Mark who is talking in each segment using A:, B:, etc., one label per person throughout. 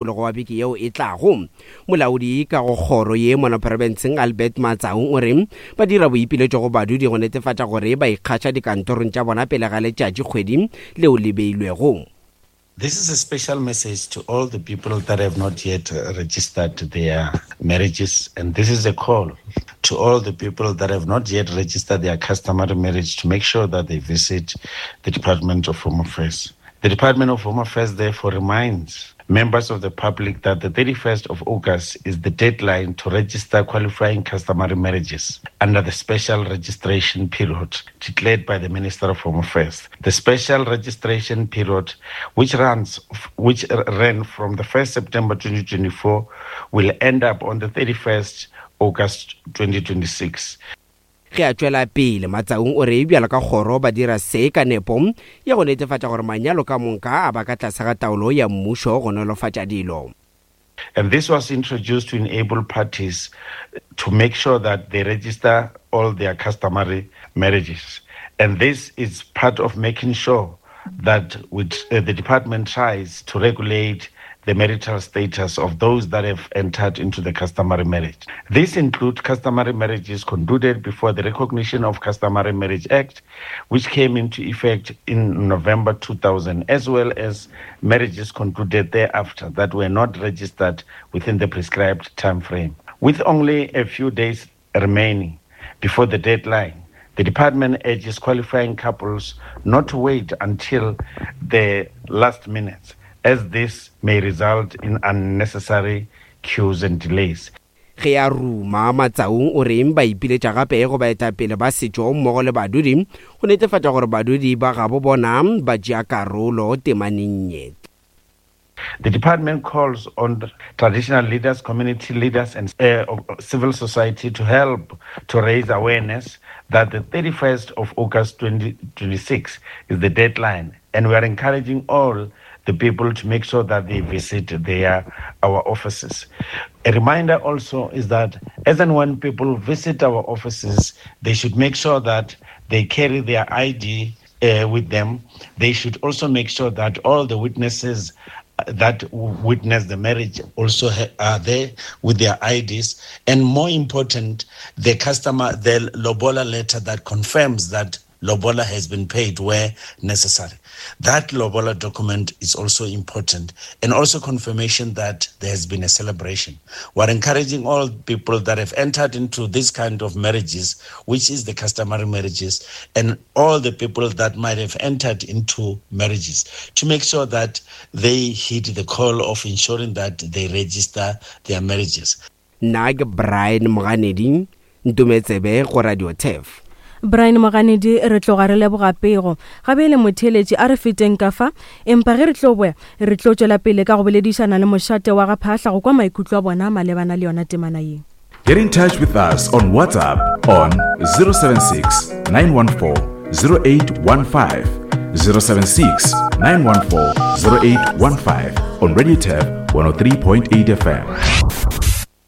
A: Mosupologo wa beke yeo e tlago. Molaodi ka go kgoro ye mono profenseng Albert Matsaung o re ba dira boipiletšo go badudi go netefatša gore ba ikgaša dikantorong tša bona pele ga letšatši kgwedi leo le beilwego.
B: This is a special message to all the people that have not yet registered their marriages and this is a call to all the people that have not yet registered their customary marriage to make sure that they visit the Department of Home Affairs. The Department of Home Affairs therefore reminds members of the public that the 31st of August is the deadline to register qualifying customary marriages under the special registration period declared by the Minister of Home Affairs. The special registration period, which runs which ran from the 1st September 2024, will end up on the 31st August 2026.
A: Ge a tšwela pele, Matsaung o re bjalo ka kgoro ba dira se ka nepo ya go netefatša gore manyalo ka moka a ba ka tlase ga taolo ya mmušo go nolofatša dilo.
B: And this was introduced to enable parties to make sure that they register all their customary marriages. And this is part of making sure that with, uh, the department tries to regulate the marital status of those that have entered into the customary marriage. This includes customary marriages concluded before the recognition of Customary Marriage Act, which came into effect in November 2000, as well as marriages concluded thereafter that were not registered within the prescribed time frame. With only a few days remaining before the deadline, the department urges qualifying couples not to wait until the last minute, as this may result in unnecessary queues and delays.
A: Ge a ruma, Matsaung o reng ba ipiletša gape go baetapele ba setšo mmogo le badudi go netefatša gore badudi ba gabo bona ba tšea karolo temaneng ye.
B: The department calls on traditional leaders, community leaders, and uh, civil society to help to raise awareness that the 31st of August 2026 is the deadline. And we are encouraging all the people to make sure that they visit their our offices. A reminder also is that as and when people visit our offices, they should make sure that they carry their ID uh, with them. They should also make sure that all the witnesses uh, that witness the marriage also are there with their IDs. And more important, the customer, the Lobola letter that confirms that Lobola has been paid where necessary. That Lobola document is also important and also confirmation that there has been a celebration. We're encouraging all people that have entered into this kind of marriages, which is the customary marriages, and all the people that might have entered into marriages to make sure that they heed the call of ensuring that they register their marriages.
A: Nna ke Brian Moganedi, Ntometsebe go Radio Turf.
C: Brian Moganedi, re tloga re leboga pego. Ga bjale motheeletši a re feteng ka fa, empa ge re tlo boya, re tlo tšwela pele ka go boledišana le mošate wa ga Phaahla go kwa maikutlo a bona malebana le yona temana ye.
D: Get in touch with us on WhatsApp on 076 914 0815. 076 914 0815 on Radio Tab 103.8 FM.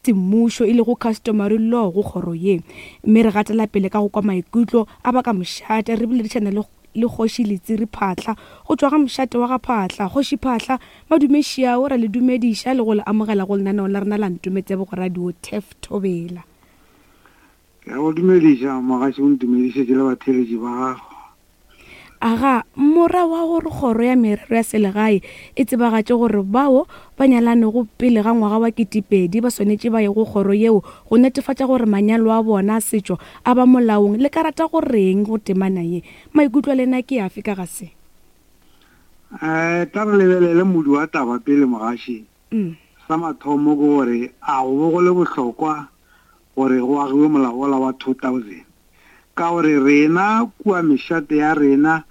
E: Semmušo e lego customary law go kgoro ye. Mme re gatela pele ka go kwa maikutlo a ba ka mošate re boledišana le le Kgoši Letsiri Phaahla go tšwa ga mošate wa ga Phaahla. Kgoši Phaahla, madume šiao, ra le dumediša le go le amogela go lenaneo la rena la Ntometsebo go Radio Turf Thobela.
F: Ke a go dumediša mogaši o ntumedišetše le batheeletši ba gago.
E: Aga, mora wa gore kgoro ya merero ya selegae e tsebagatše gore bao ba nyalanego pele ga ngwaga wa ketepedi ba swanetše ba ye go kgoro yeo go netefatša gore manyalo a bona a setšo a ba molaong. Le ka rata go reng go temana ye? Maikutlo a lena ke afe ka ga se?
F: Um tla re lebelele modu wa taba pele mogaši. Sa mathomo ke gore a go be go le bohlokwa gore go agiwe molao wola wa 2000? Ka gore rena kua mešate ya rena,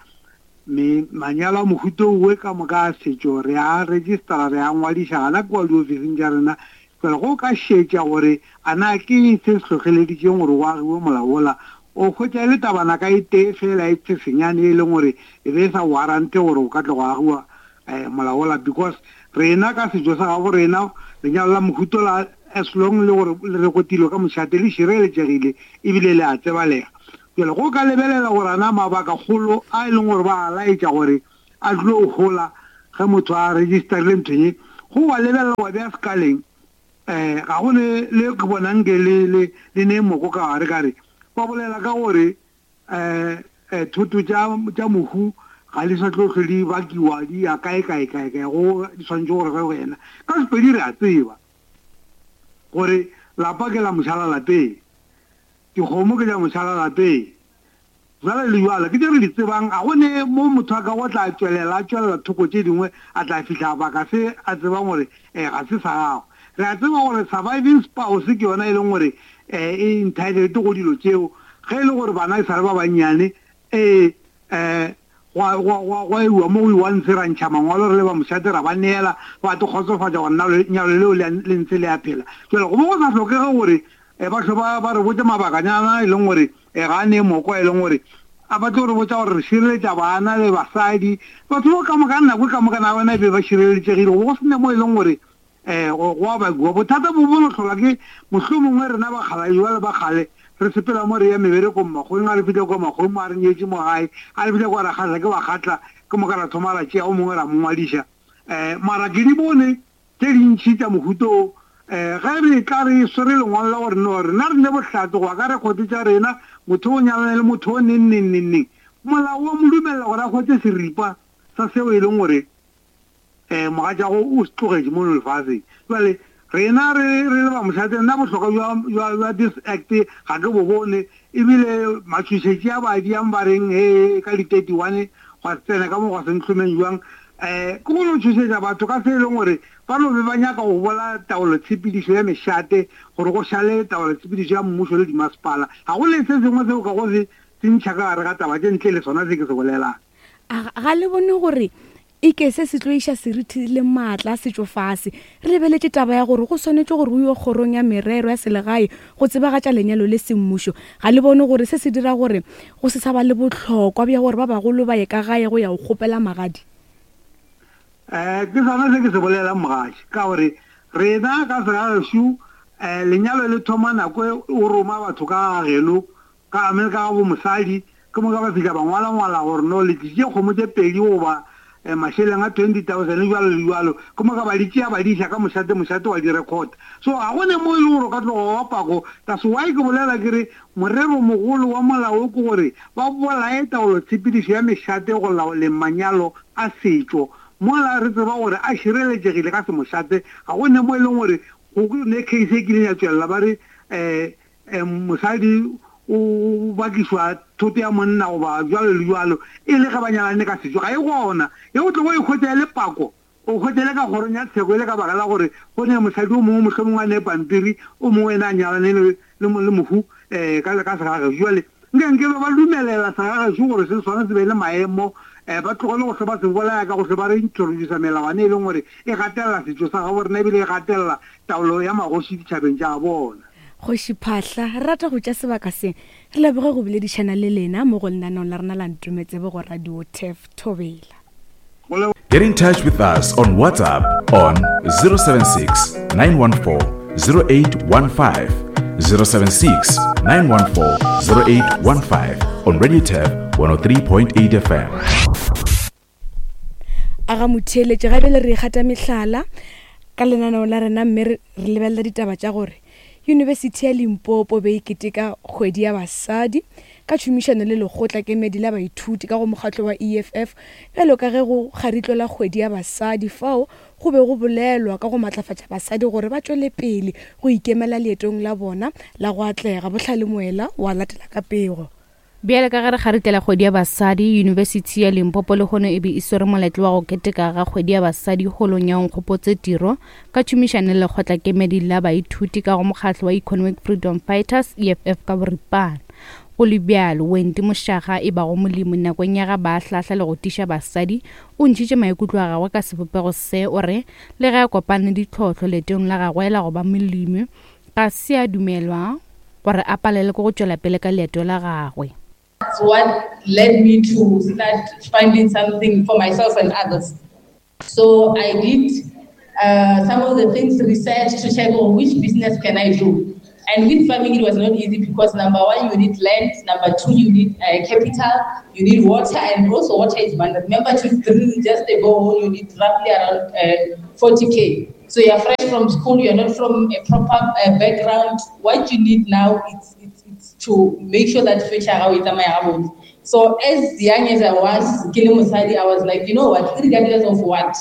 F: me, manyalo a mohuta owe ka moka a setšo re a registera, re a ngwadiša gana kua diofising tša rena. Bjale ge o ka šetša gore a na ke eng se se hlohleleditšeng gore go agiwe molao wola, o hwetša e le tabana ka e tee feela e tshesenyane e leng gore e be e sa warrante gore go ka tlo go agiwa eh, molao wola. Because rena ka setšo sa gabo rena, lenyalo la mohuta ola as long le gore le rekotilwe ka mošate le šireletšegile ebile le a tsebalega. Bjale go ka lebelela gore ana mabakakgolo a e leng gore ba a laetša gore a tlo hola ge motho a registerile nthong ye, Go wa lebelela wa bea sekaleng, um ga go ne le ke bonang nke le, le, le ne moko ka gare ka re, ba bolela ka gore um thoto tša, tša mohu ga di sa tlo hlwe di bakiwa di ya kae, kae, kae, kae, go di swanetše gore ge go yena. Ka Sepedi re a tseba gore lapa ke la mošala lapeng, dikgomo ke tša mošala lapeng, Bjale le bjale, ke tše re di tsebang, ga go ne mo motho a kago tla tšwelela, a tšwelela thoko tše dingwe, a tla fihla baka se a tsebang gore eh, ga se sa gagwe. Re a tseba gore surviving spouse ke yona e leng gore eh, e entitled go dilo tšeo, ge e le gore bana e sa le ba bannyane, ee, eh, gwa, gwa, gwa, gwa iwa mo go iwa ntshe ra ntšha mangwalo re le ba mošate ra ba neela, ba te kgotsofatša gore na lenyalo leo le, le ntse le a phela. Jwale go bo go sa hlokege gore eh, ba hlwe ba, ba re botše mabakanyana e leng gore E ga a nee moko e leng gore a ba tlo re botša gore re šireletša bana le basadi. Batho bao ka moka nako ka moka na bona e be ba šireletšegile go bo go se ne mo e leng gore um go a bakiwa. Bothata bo bo no hlolwa ke mohlomongwe rena bakgalabje bale ba kgale re sepela mo re ya meberekong makgoweng a re fihla kua makgoweng mo a re nyetše mo gae a re fihla kua ra kgahla ke bakgatla ke moka ra thoma ra tšea o mongwe ra mo ngwadiša um mara ke di bone Tše dintši tša mohuta wo, ge re etla re swere lengwalo la gore no, rena re ne bohlatse go ya ka rekhote tša rena, motho o nyalane le motho o neng, neng, neng, neng. Molao wa mo dumelela gore a hwetše seripa sa seo e leng gore um mogatšago o se tlogetše mono lefaseng. Bjale, rena re, re le ba mošate, nna bohlokwa bja, bja, bja this Act ga ke bo bone. Ebile matšhošetši a ba diang ba reng he ka di 31 gwa se tsena ka mo gwa se ntlhomeng jwang, um ke go no tšhošetša batho ka se e leng gore ba no be ba nyaka go bola taolotshepedišo ya mešate gore go šale taolotshepedišo ya mmušo le dimasepala. Ga go le se sengwe seo ka go se se ntšha ka gare ga taba tše ntle le sona se ke se bolelang.
E: A ga le bone gore Eke se se tlo iša seriti le maatla a setšo fase. Re lebeletše taba ya gore go swanetše gore o yo kgorong ya merero ya selegae go tsebagatša lenyalo le semmušo. Ga le bone gore se se dira gore go se sa ba le bohlokwa bja gore ba bagolo ba ye ka gae go ya go kgopela magadi?
F: Eh, ke sona se ke se bolelang mogatši, ka gore rena ka segagešo eh, lenyalo le thoma nako e o roma batho ka ga geno Ka Amerika ga bo mosadi, ke moka ba fihla ba ngwalangwala gore no le tlišitše kgomo tše pedi goba mašeleng a 20,000 bjalo le bjalo, ke moka ba di tšea ba di iša ka mošate, mošate wa di rekhota. So ga go ne mo e le gore o ka tloga wa pako. That's why ke bolela ke re moreromogolo wa molao wo ke gore ba bolaye taolotshepedišo ya mešate go laoleng manyalo a setšo mola re tseba gore a šireletšegile ka semošate. Ga go ne mo e leng gore go ne case e kileng ya tšwelela ba re um Mosadi o bakišwa thoto ya monna goba bjalo le bjalo, e le ge ba nyalane ka setšo, ga e gona. Ye o tlogo e hwetša e le pako, o hwetša e le ka kgorong ya tsheko, e le ka baka la gore go ne mosadi o mongwe mohlomongwe a ne pampiri, o mongwe yena a nyalane le, le, le mohu um ka, ka segagešo. Bjale nke nke be ba dumelela segagešo gore se sona se be le maemo, um ba tlogele go hlwe ba se bolaya ka go hlwe ba re introducer melawana e leng gore e gatelela setšo sa gabo rena ebile e gatelela taolo ya magoši ditšhabeng tša bona.
E: Kgoši Phahla, re rata go tša sebaka se re leboge go boledišana le lena mo go lenaneong la rena la Ntometsebe go Radio Turf Thobela.
D: Get in touch with us on WhatsApp on 076 914 0815. 076 914 0815 on Radio Turf 103.8 FM.
E: A ga motheeletše ga bjale re ikgata mehlala ka lenaneo la rena mme re lebelela ditaba tša gore Yunibesithi ya Limpopo be e keteka kgwedi ya basadi ka tšhomišano le lekgotla kemedi la baithuti ka go mokgatlo wa EFF bjalo ka ge go kgaritlo la kgwedi ya basadi fao go be go bolelwa ka go matlafatša basadi gore ba tšwele pele go ikemela leetong la bona la go atlega. Bohlale Moela wa latela ka pego.
C: Bjale ka ge re kgaritlela kgwedi ya basadi, Yunibesithi ya Limpopo lehono e be e swere moletlo wa go keteka ga kgwedi ya basadi holong ya Onkgopotse Tiro ka tšhomišano le lekgotlakemedi la baithuti ka go mokgatlo wa Economic Freedom Fighters, EFF ka boripana. Go le bjalo, Wendy Moshaga e bago molemi nakong ya ga ba ahlahla le go tiša basadi, o ntšhitše maikutlo a gagwe ka sebopego se, o re le ge a kopane le ditlhohlo leetong la gagwe la go ba molemi, ga se a dumelwa gore a palelwe ke go tšwela pele ka leeto la gagwe.
G: That's what led me to start finding something for myself and others. So I did uh, some of the things research to check on which business can I do. And with farming, it was not easy because number one, you need land. Number two, you need uh, capital. You need water, and also water is money. Remember, to drill just a borehole, you need roughly around uh, 40k. So you're fresh from school, you're not from a proper uh, background. What you need now is, it's, it's to make sure that future So as young as I was, I was like, you know what, regardless of what,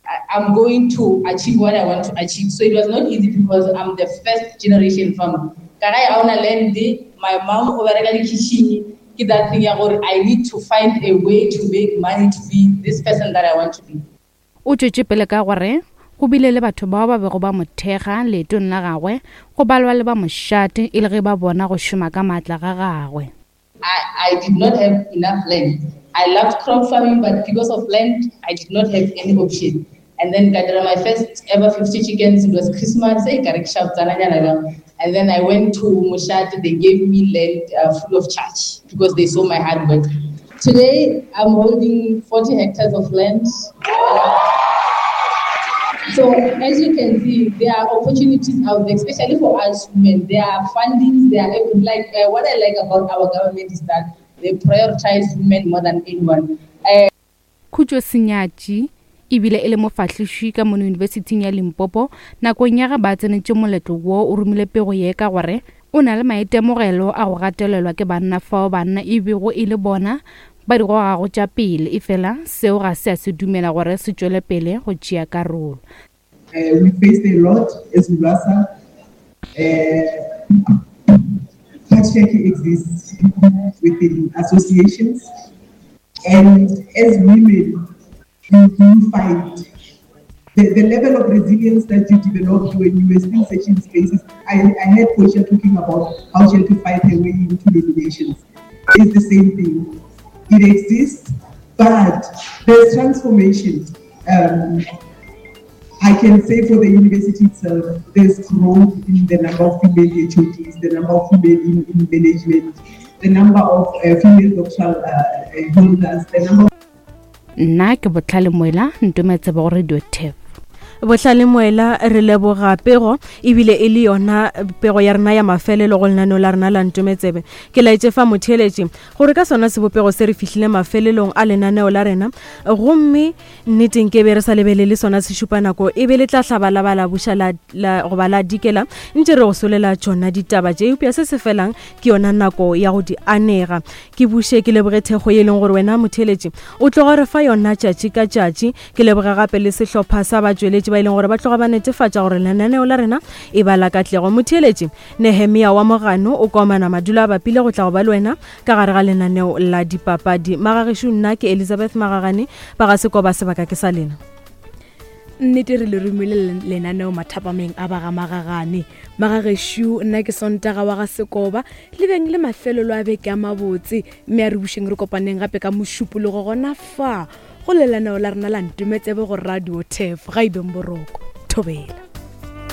G: I, I'm going to achieve what I want to achieve. So it was not easy because I'm the first generation farmer. Ka gae ga ona land, my mom o bereka dikitšhini, ke that thing ya gore I need to find a way to make money to be this person that I want to be.
H: O tšwetše pele ka gore go bile le batho bao ba bego ba mo thekga leetong la gagwe go balwa le ba mošate e le ge ba bona go šoma ka maatla ga gagwe.
G: I, I did not have enough land. I loved crop farming, but because of land, I did not have any option. And then ka dira my first ever 50 chickens, it was Christmas, eh, ka rekisha botsananyana jang. And then I went to Moshate, they gave me land uh, full of charge because they saw my hard work. Today, I'm holding 40 hectares of land. So as you can see, there are opportunities out there, especially for us women. There are fundings, there are like uh, what I like about our government is that they prioritize women more than anyone. Uh,
H: Khutšo Senyatši e bile e le mofahliši ka mono Yunibesithing ya Limpopo nakong ya ge ba tsenetše moletlo wo o romile pego ye ka gore o na le maitemogelo a go gatelelwa ke banna fao banna e bego e le bona ba di gogago tša pele efela seo ga se a se dumela gore se tšwele pele go tšea karolo.
I: Uh, we faced a lot as URASA. Uh, patriarchy exists within associations. And as women, you do fight. The, the level of resilience that you developed when you were still searching spaces. I, I heard Portia talking about how she had to fight her way into nominations. It's the same thing. It exists, but there's transformation. Um, I can say for the university itself, there's growth in the number of female HODs, the number of female in, in management, the number of uh, female doctoral uh, uh, holders, the number
H: Nna ke Bohlale Moela, Ntometsebe go Radio Tef.
C: Bohlale Moela, re leboga pego ebile e le yona pego ya rena ya mafelelo go lenaneo la rena la Ntometsebe. Ke laetše fa motheeletši gore ka sona sebopego se re fihlile mafelelong a lenaneo la rena gomme nneteng ke be re sa lebelele sona sešupanako e be le tla hlaba la ba la buša la, la, goba la dikela ntše re go solela tšona ditaba tše eupša se se felang ke yona nako ya go di anega. Ke buše ke leboge thekgo ye e leng gore wena motheeletši o tloga re fa yona tšatši ka tšatši. Ke leboge gape le sehlopha sa batšweletši ba e leng gore ba tloga ba netefatša gore lenaneo la rena e ba la katlego. Motheeletši Nehemia wa Mogano o komana madulo a bapile go tla go ba le wena ka gare ga lenaneo la dipapadi. Magagešo nna ke Elizabeth Magagane ba ga Sekoba sebaka ke sa lena.
E: Nnete re le romile lenaneo mathapameng a ba ga Magagane. Magagešo nna ke Sontaga wa ga Sekoba le beng le mafelelo a beke a mabotse mme a re bušeng re kopaneng gape ka Mošupologo gona fa go lelaneo la rena la Ntometsebe go Radio Tef. Ga e beng boroko. Thobela.